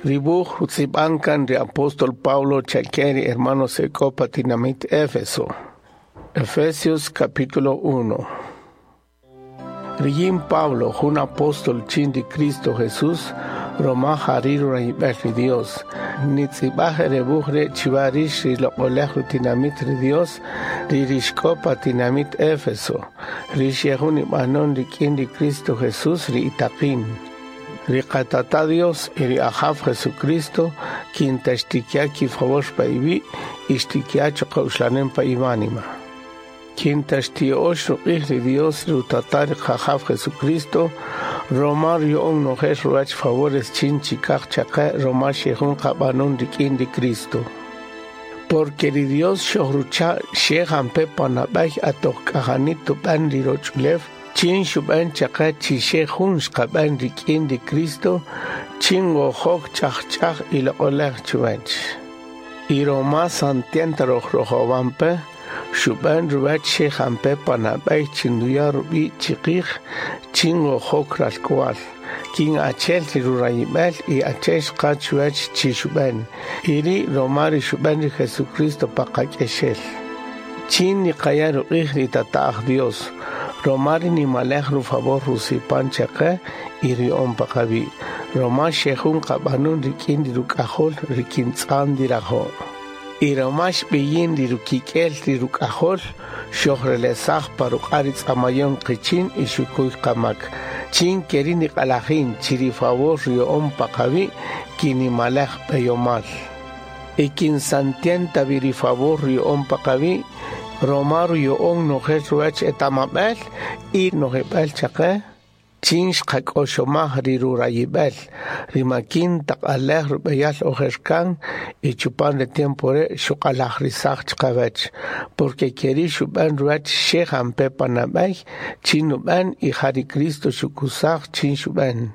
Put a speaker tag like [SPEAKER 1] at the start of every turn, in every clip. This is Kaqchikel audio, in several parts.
[SPEAKER 1] Ri wuj rutz'ib'an kan ri apóstol Pablo chake ri hermanos ek'o pa tinamit Éfeso. Efesios capítulo 1. Riyin Pablo, jun apóstol chin ri Cristo Jesús, roma jari rurayib'el ri Dios. Nitz'ib'aj re wuj re' chiwa rix ri loq'olej rutinamit ri Dios, ri rixk'o pa tinamit Éfeso, ri xejun ib'anon rik'in ri Cristo Jesús ri itaqin. Ri qatata Dios y ri Ajaw Jesucristo, kin ta xtikiya ki-favor pa iwi' y xtikiya chuqa' uxlanem pa iwánima. Kin ta xtiyo'ox ruq'ij ri Dios rutata ri Qajaw Jesucristo, roma ruya'on nojel ruwach favores chin chikaj chaqe roma xejun qab'anon rik'in ri Cristo. Porque ri Dios xojrucha' xe jampe pa nab'ey atoq k'ajani tub'an ri roch'ulew, chin xub'an chaqe chi xe jun xqab'an rik'in ri Cristo, chin wojok ch'aj ch'aj y loq'olej chuwach. Y roma santienta roj rojowampe, xub'an ruwach xe jampe pa nab'ey chin ruya' rub'i' chiqij, chin wojok ralk'wal. Kin achel ri rurayib'el y achel xqa chuwach chi xub'an. Y ri' roma ri xub'an ri Jesucristo pa qak'exel. Chin niqaya' ruq'ij ri tata'aj Dios, roma ri nimalej rufavor rusipan chaqe y ruya'on pa qawi'. Roma xejun qab'anun rik'in ri ruk'ajol ri kintz'an dirajo'. Y roma xb'iyin ri rukik'el ri ruk'ajol, xojrelesaj pa ruq'a' ri tz'amayon qichin y xukuy qamak. Chin keri niq'alajin chi ri favor ruya'on pa qawi' kinimalej b'eyomal. Y kin santienta vi ri favor ruya'on pa qawi', roma ruya'on nojel ruwach etamab'el y nojib'el chaqe, chin xqak'oxomaj ri rurayib'el, ri makin taq alej rub'eyal ojer kan y chupan ri tiempo re' xuq'alajrisaj chiqawach, porque keri xub'an ruwach xe jampe pa nab'ey, chin nub'an y ja ri Cristo xukusaj chin xub'an.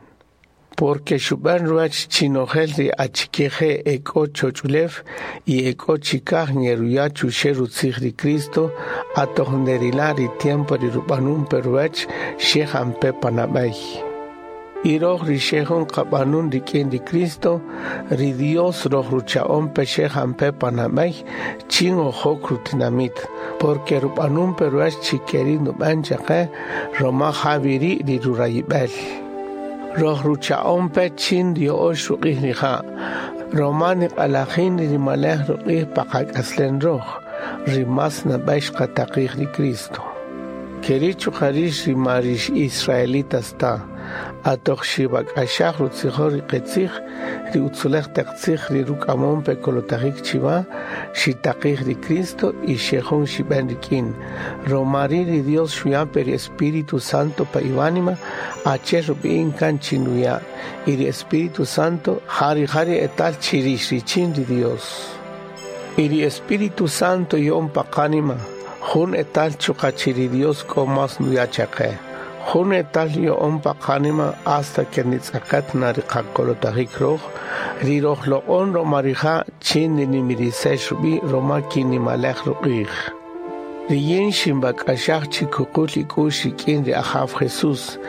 [SPEAKER 1] Porque xub'an ruwach chinojel ri achikeje ek'o choch'ulew y ek'o chikaj ngeruya' chuxe' rutzij ri Cristo, atoq nderila' ri tiempo ri rub'anun pe ruwach xe jampe pa nab'ey. Y roj ri xejun qab'anun rik'in ri Cristo, ri Dios roj rucha'on pe xe jampe pa nab'ey, chin ojok rutinamit, porque rub'anun pe ruwach chi keri nub'an chaqe, roma jawiri ri rurayib'el. Roj rucha'on pe chin rio'ox ruq'ij rija', roma niq'alajin ri nimalej ruq'ij pa qak'aslen roj, ri mas nab'ey xqataqij ri Cristo. Keri chuqa' rix ri ma rix israelitas ta, atoq xib'ak'axaj rutzijol ri qitzij, ri utzulej taq tzij ri ruk'amon pe kolotajik chiwa, xitaqij ri Cristo y xejun xib'en rik'in. Roma ri' ri Dios xuya' pe ri Espíritu Santo pa iwánima, achel rub'i'in kan chinuya', y ri Espíritu Santo jari jari etal chirix richin ri Dios. Y ri Espíritu Santo yo'on pa qánima, jun etal chuqa chi ri Dios k'o mas nuya' chaqe. Jun etal yo'on pa qánima hasta que nitz'aqat na ri qakolotajik roj, ri roj loq'on roma rija' chin ninimirisex rub'i' roma kinimalej ruq'ij. Riyin xinb'ak'axaj chi kuqul ik'u'x rik'in ri Ajaw Jesús,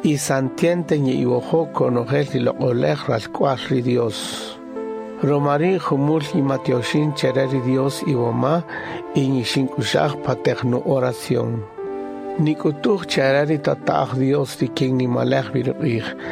[SPEAKER 1] y santienta nye'iwojo' konojel ri loq'olej ralk'wal ri Dios. Roma ri' jumul yimatioxin chere ri Dios iwoma y ñixink'uxaj pa taq nu oración. Nik'utuj chere ri tata'aj Dios ri kin nimalej vi ruq'ij.